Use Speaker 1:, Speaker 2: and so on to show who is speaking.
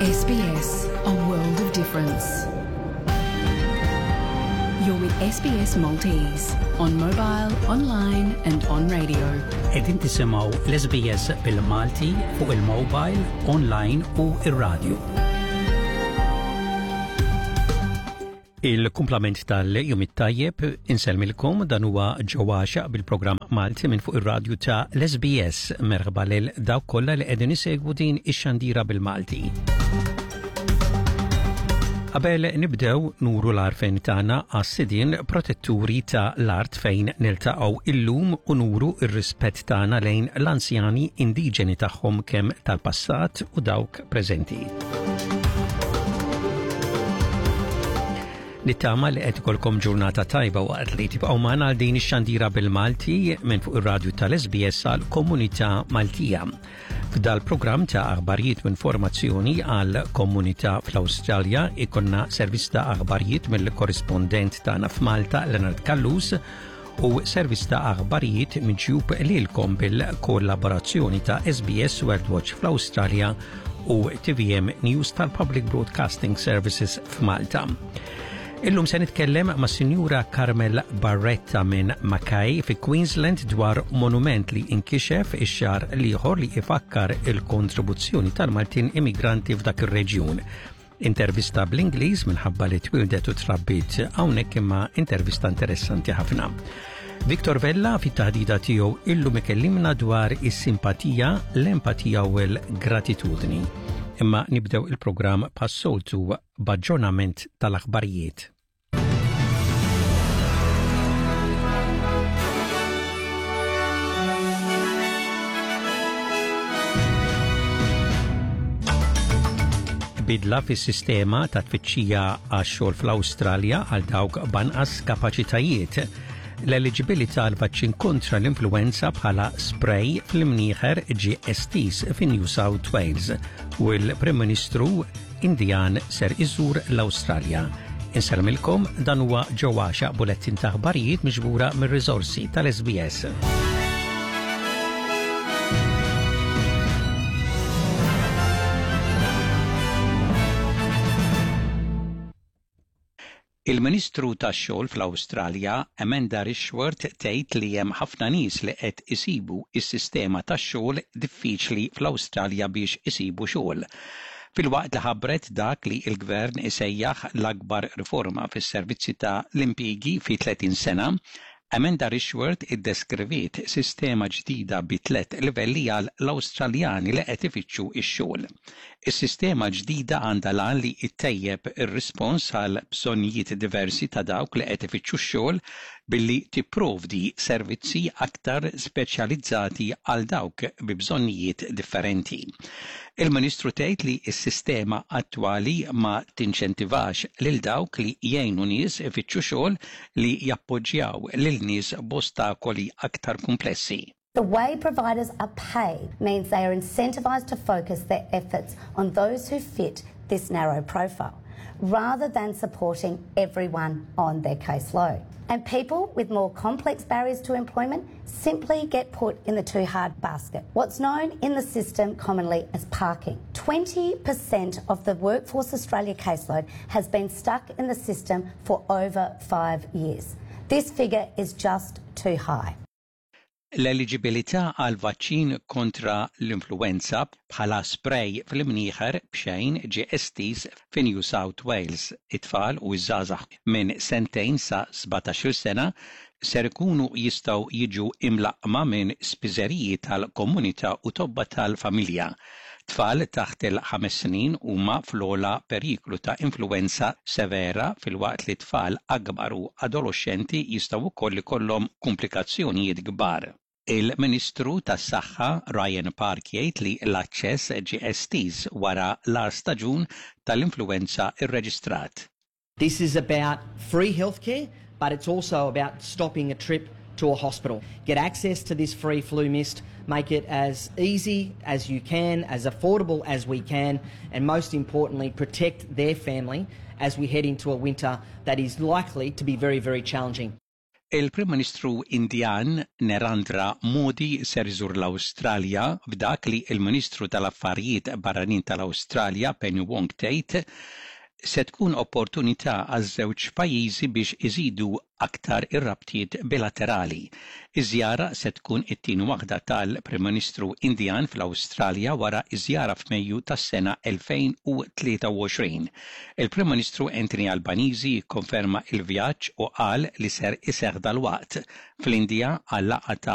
Speaker 1: SBS, a world of difference. You're with SBS Maltese on mobile, online and on radio.
Speaker 2: Qegħdin tisimgħu l-SBS bil-Malti fuq il-mobile, online u ir-radio. Il-kumplament tal-jum it-tajjeb insellmilkom dan huwa ġewwaxa bil-programm Malti minn fuq ir-radju ta' l-SBS merħba lil dawk kollha li qegħdin isegwu din ix-xandira bil-Malti. Qabel nibdew nuru l-għarfien tagħna għas-sidien protetturi ta' l-art fejn niltaqgħu illum u nuru r-rispett tagħna lejn l-anzjani indiġeni tagħhom kemm tal-passat u dawk preżenti. Nittama li qed ikolkom ġurnata tajba waqt li tibqgħu magħna għal din ix-xandira bil-Malti minn fuq ir-radju tal-SBS għal komunità Maltija. F'dal programm ta' aħbarijiet u informazzjoni għal komunità fl-Awstralja ikonna servizz ta' aħbarijiet mill-korrispondent tagħna f'Malta Leonard Callus u servizz ta' aħbarijiet miġjub lilkom bil-kollaborazzjoni ta' SBS World Watch fl-Awstralja u TVM News tal-Public Broadcasting Services f'Malta. Illum se nitkellem ma' Sinjura Carmel Barretta minn Mackay fi Queensland dwar monument li inkixef ix-xahar l-ieħor li ifakkar il-kontribuzzjoni tal-Maltin immigranti f'dak ir-reġjun. Intervista bl-Ingliż minħabba li twildet u trabbiet hawnhekk imma intervista interessanti ħafna. Victor Vella fit-taħdida tiegħu illum ikellimna dwar is-simpatija, l-empatija u l-gratitudni. Imma nibdew il-programm bħas-soltu b'aġġornament tal-aħbarijiet. Bidla fis-sistema ta' tfittxija għax-xogħol fl-Awstralja għal dawk b'anqas kapaċitajiet. L-eliġibilità għal vaċċin kontra l-influenza bħala spray fl-imnieħer ġie estiż fi New South Wales u l-Prim Ministru Indijan ser iżur l-Awstralja. Insellmilkom dan huwa Joe Għaxaq bulettin ta' aħbarijiet miġbura mir-riżorsi tal-SBS. Il-Ministru tax-Xogħol fl-Awstralja, Amanda Rishworth tgħid li hemm ħafna nies li qed isibu s-sistema tax-xogħol diffiċli fl-Awstralja biex isibu xogħol. Filwaqt li ħabbret dak li l-Gvern isejjaħ l-akbar riforma fis-servizzi ta' l-impjiegi fi 30 sena, Amanda Rishworth iddeskriviet sistema ġdida bi tlett livelli għal l-Awstraljani li qed ifittxu x-xogħol. Is-sistema l-ġdida għandha l-għan li ttejjeb ir-rispons għal bżonnijiet diversi ta' dawk li qed ifittxu x-xogħol billi tipprovdi servizzi aktar speċjalizzati għal dawk bi bżonnijiet differenti. Il-Ministru tgħid li s-sistema attwali ma tinċentivax lil dawk li jgħinu nies ifittxu xogħol li jappoġġjaw lil nies b'ostakoli aktar kumplessi.
Speaker 3: The way providers are paid means they are incentivised to focus their efforts on those who fit this narrow profile, rather than supporting everyone on their caseload. And people with more complex barriers to employment simply get put in the too hard basket, what's known in the system commonly as parking. 20% of the Workforce Australia caseload has been stuck in the system for over five years. This figure is just too high.
Speaker 2: L-eliġibilità għal vaċċin kontra l-influwenza bħala spray fl-imnieħer b'xejn ġie estiż fi New South Wales. It-tfal u ż-żgħażagħ minn sentejn sa 17-il sena ser ikunu jistgħu jiġu imlaqqma minn spiżeriji tal-komunità u tobba tal-familja. Tfal taħt il-ħames snin huma fl-ogħla periklu ta' influwenza severa filwaqt li tfal akbar u adoloxxenti jistgħu wkoll ikollhom kumplikazzjonijiet kbar. Il-Ministru tas-Saħħa Ryan Park jgħid li l-aċċess ġie estiż wara l-agħar staġun tal-influwenza rreġistrat.
Speaker 4: This is about free healthcare, but it's also about stopping a trip to a hospital. Get access to this free flu mist, make it as easy as you can, as affordable as we can, and most importantly, protect their family as we head into a winter that is likely to be very, very challenging.
Speaker 2: Il-Prim Ministru Indjan Narendra Modi ser iżur l-Awstralja f'dak li l-Ministru tal-Affarijiet Barranin tal-Awstralja Penny Wong tgħid se tkun opportunità għaż-żewġ pajjiżi biex iżidu aktar ir-rabtiet bilaterali. Iż-żjara se tkun it-tieni waħda tal-Prim Ministru Indjan fl-Awstralja wara ż-żjara f'Mejju tas-sena 2023. Il-Prim Ministru Anthony Albanese kkonferma l-vjaġġ u qal li ser iseħħ dalwaqt fl-Indja għal laqgħa ta'